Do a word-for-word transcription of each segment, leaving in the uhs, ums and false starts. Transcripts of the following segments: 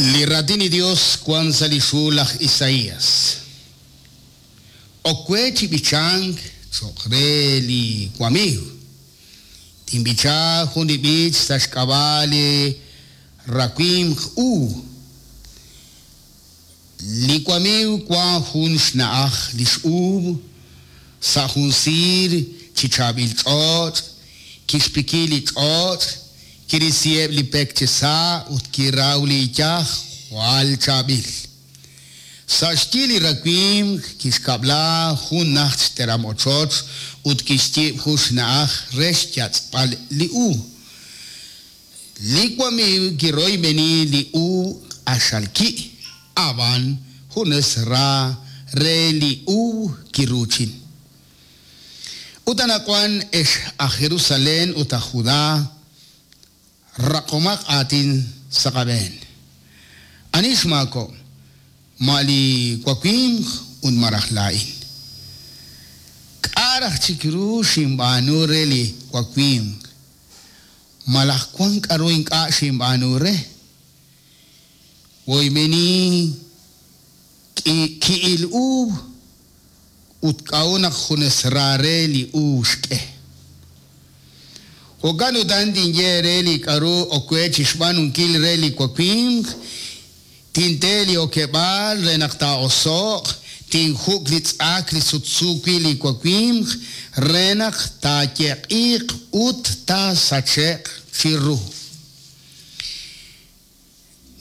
Li raatin li Dios wan sa' lix hu laj Isaías. Ok we chi b'ichank cho'q re li wamiiw. Tinb'icha jun li b'ich sa' xk'ab'a' li rawimq uub'. Li wamiiw wan jun xna'aj lix uub' sa' jun siir chi chaab'il ch'och', kixpiki li ch'och', kirisiheb' li pek chi sa' ut kiraw li iyaj jwal chaab'il. Sa' xyi li rawimq kixkab'la jun najt xteram ochoch ut kixyiib' jun xna'aj re xyatz'b'al li uub'. Li wamiiw kiroyb'eni li uub' q'axal ki', ab'an junes ra re li uub' kiruuchin. Ut anaqwan ex aj Jerusalén ut aj Judá, raqomaq aatin sa' qab'een. Ani xmaako'? Ma li wawimq ut malaj laa'in. K'a' raj chik ru xinb'aanu re li wawimq? Malaj wan k'aru ink'a' xinb'aanu re? Woyb'eni ki'il uub' ut k'a'ut naq junes ra re li uub' xk'e. Jo'kan utan tinye re li k'aru ok we chi xb'aanunkil re li wawimq, tinte li okeb'aal re naq taa'oso'q, tinjuk' li tz'ak li sutsu wi' li wawimq re naq taayeq'iiq ut taasache'q chiru.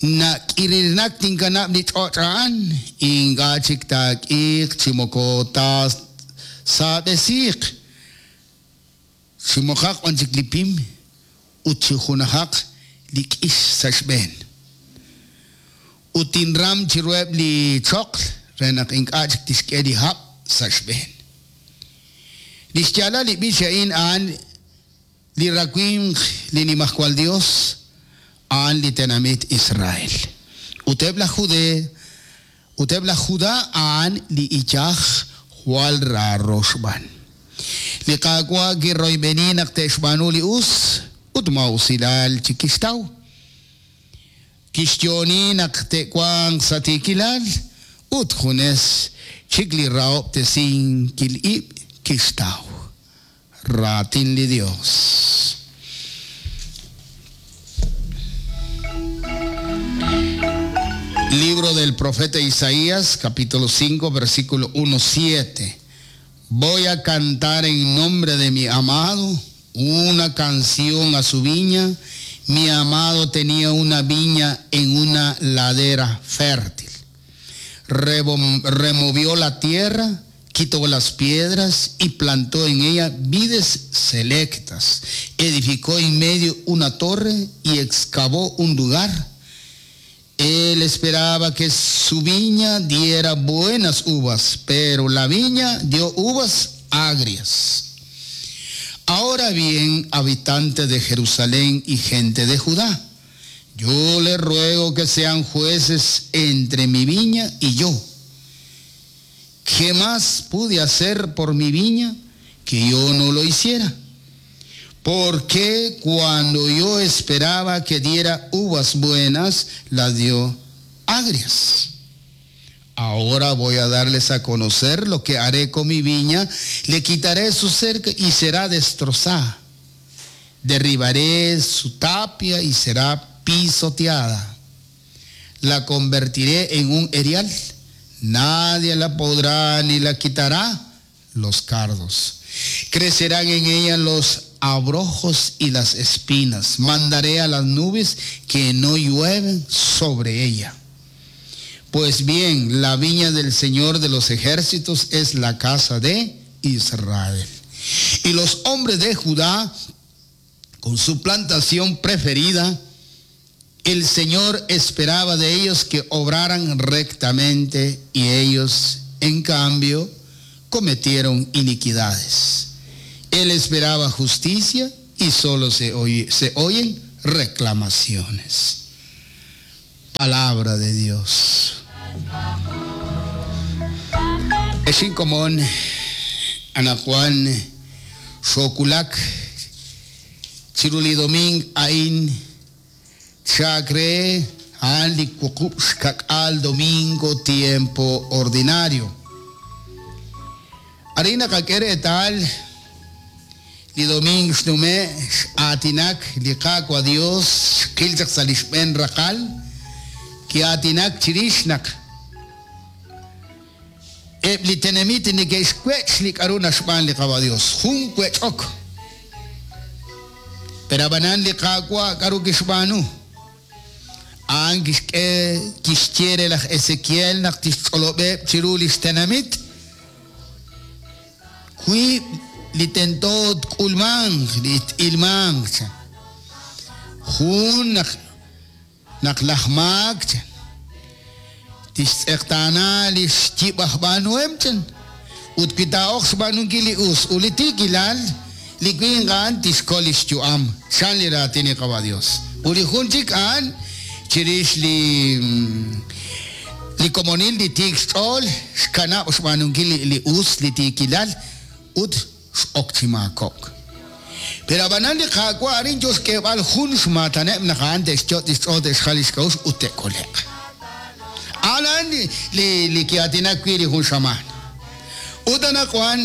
Nak'irirnak tinkanab' li ch'och' a'an, ink'a' chik taak'iiq chi moko taasaab'esiiq, chi moqaq wan chik li pim ut chi junajaq li k'ix sa' xb'een. Ut tinram chiruheb' li choql re naq ink'a' chik tixk'e li hab' sa' xb'een. Li xyaalal li b'ich a'in a'an li rawimq li Nimajwal Dios, a'an li tenamit Israel. Ut eb' laj Jude, ut eb' laj Judá a'an li iyaj jwal raaro xb'aan. Li Qaawa' kiroyb'eni naq te'xb'aanu li us ut maa'usilal chi kixtaw. Kixyooni naq te'wanq sa' tiikilal ut junes chik li rahob'tesinkil ib' kixtaw. Raatin li Dios. Libro del profeta Isaías, capítulo cinco, versículo uno, siete. Voy a cantar en nombre de mi amado una canción a su viña. Mi amado tenía una viña en una ladera fértil. Revom-, removió la tierra, quitó las piedras y plantó en ella vides selectas. Edificó en medio una torre y excavó un lugar. Él esperaba que su viña diera buenas uvas, pero la viña dio uvas agrias. Ahora bien, habitantes de Jerusalén y gente de Judá, yo les ruego que sean jueces entre mi viña y yo. ¿Qué más pude hacer por mi viña que yo no lo hiciera? Porque cuando yo esperaba que diera uvas buenas, las dio agrias. Ahora voy a darles a conocer lo que haré con mi viña. Le quitaré su cerca y será destrozada. Derribaré su tapia y será pisoteada. La convertiré en un erial. Nadie la podrá ni la quitará los cardos. Crecerán en ella los abrojos y las espinas. Mandaré a las nubes que no llueven sobre ella. Pues bien, la viña del Señor de los ejércitos es la casa de Israel. Y los hombres de Judá, con su plantación preferida, el Señor esperaba de ellos que obraran rectamente, y ellos, en cambio, cometieron iniquidades. Él esperaba justicia y solo se oye, se oyen reclamaciones. Palabra de Dios. Es incomún, Anajuan, Xoculak, Chirulidomín, Ain, Chacre, a'an li wuqub' xkak'al domingo tiempo ordinario. Arin naqak'e reetal li domingo xnume' x'aatinak li Qaawa' Dios xqil chaq sa' li xb'een raqal ki'aatinak chirix naq eb' li tenamit neke'xwech' li k'aru naxb'aan li Qaawa' Dios jun wech'ok. Pero ab'anan li Qaawa' k'aru kixb'aanu a'an kixk'e kixye re laj Ezequiel naq tixch'olob'eb' chiru li xtenamit wiib' li tento tk'ulmanq li t'ilmanq chan jun naq naq laj maak chan tixtz'eqtaana li xyib' aj b'aanuhem chan ut wi taa'oq xb'aanunkil li us ut li tiikilal li winq a'an tixkol li xyu'am chan li raatin li Qaawa' Dios. Ut li jun chik a'an chirix li li komonil li tiik xch'ool xkanab' xb'aanunkil li us li tiikilal ut x'ok chi maakok. Pero ab'anan li Qaawa' arin yo xk'eeb'al jun xmaataneb' naq a'an te'xyot' xch'ool te'xjal li xk'a'uxl ut te'kole'q. A'an li li li ki'aatinak wi' li jun xamaan. Ut anaqwan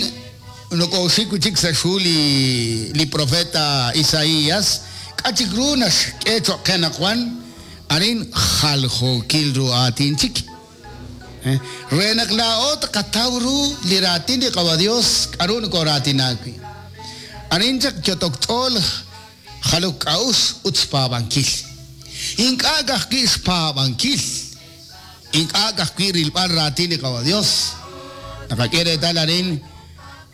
nokooxik wi' chik sa' xhu li li profeta Isaías k'a' chik ru naxk'e cho'q qe anaqwan arin jaljookil ru aatin chik. Re naq laa'o tqataw ru li raatin li Qaawa' Dios k'aru nokooraatinak wi'. Arin chaq yotok ch'ool jalok k'a'uxl ut xpaab'ankil. Ink'a' ka'ajwi' xpaab'ankil. Ink'a' ka'ajwi' rilb'al raatin li Qaawa' Dios. Naqak'e reetal arin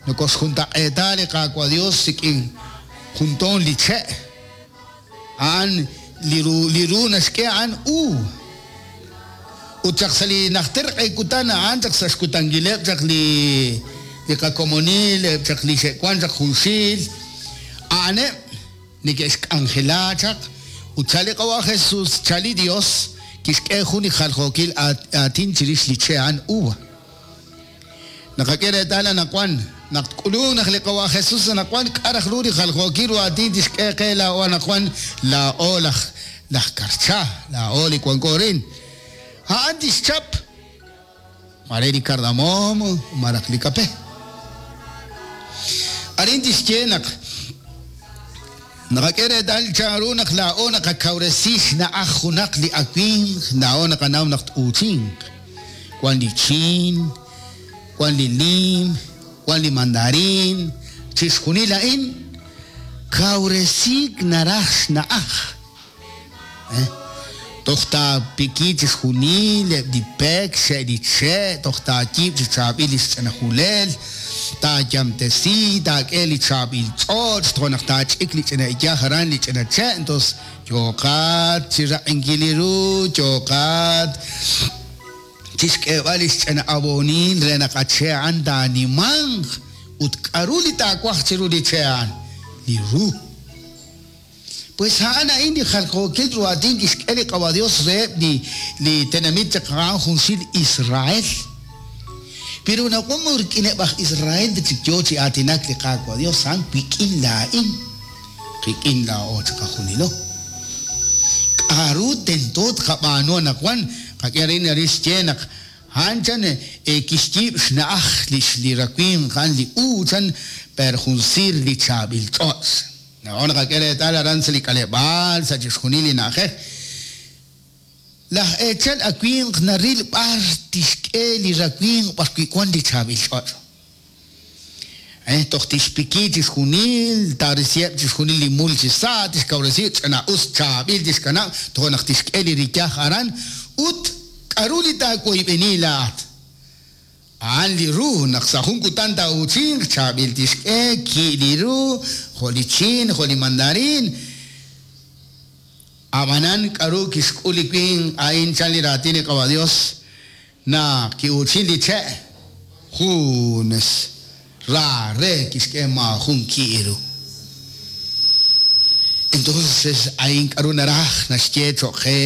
nokoxjuntaq'eeta li Qaawa' Dios rik'in juntoon li che'. A'an li ru li ru naxk'e a'an u. Ut chaq sa' li najter q'ekutan a'an chaq sa' xkutankileb' chaq li li qakomonil chaq li xe'wan chaq junxil a'aneb' neke'xk'anjela chaq ut chal li Qaawa' Jesús chal li Dios kixk'e jun li jaljookil aatin chirix li che' a'an uva. Naqak'e reetal anaqwan naq tk'ulunk naq li Qaawa' Jesús anaqwan k'a' raj ru li jaljookil ru aatin tixk'e qe laa'o anaqwan laa'o laj laj karcha laa'o li wanko rin. A'an tixchap mare li cardamomo maraj li kape. Arin tixye naq naqak'e reetal chanru naq laa'o naqakawresi xna'aj junaq li awimq laa'o naqanaw naq t'uuchinq. Wan li chiin, wan li lim, wan li mandarin, chixjunil a'in kawresiik naraj xna'aj. Eh? Toj taapiki chixjunil eb' li pek xe' li che' toj taayiib' chi chaab'il li xch'inajulel taayamtesi taak'e li chaab'il ch'och' toj naq taach'ik li ch'ina iyaj aran li ch'ina che' entonces yooqat chi raq'inkil li ru yooqat chixk'eeb'al li xch'ina abonil re naq a che' a'an taanimanq ut k'aru li taawaj chiru li che' a'an li ru. Pues a'an a'in li jaljookil ru aatin kixk'e li Qaawa' Dios reheb' li li tenamit chaq a'an junxil Israel. Pero naqwan rik'ineb' aj Israel chik yo chi aatinak li Qaawa' Dios a'an wik'in laa'in qik'in laa'o chaq qajunilo. K'aru tento tqab'aanu anaqwan qak'e arin arin xye naq a'an chan kixyiib' xna'aj li li rawimq a'an li u chan per jun siir li chaab'il ch'och'. Naqo naqak'e reetal aran sa' li k'aleb'aal sa' chixjunil li na'ajej. Laj eechal awimq naril b'ar tixk'e li rawimq b'ar wi' wan li chaab'il ch'och'. Eh, toj tixpiki chixjunil, taarisiheb' chixjunil li mul chi sa', tixkawresi ch'ina us chaab'il tixkanab', toj naq tixk'e li riyaj aran ut k'aru li taawoyb'eni laa'at. A'an li ru naq sa' jun kutan taa'uchinq chaab'il tixk'e ki' li ru jo' li chiin jo' li mandarin. Ab'anan k'aru kixk'ul li winq a'in chan li raatin li Qaawa' Dios naq ki'uchin li che' junes ra re kixk'e maajun ki' ru. Entonces a'in k'aru naraj naxye cho'q qe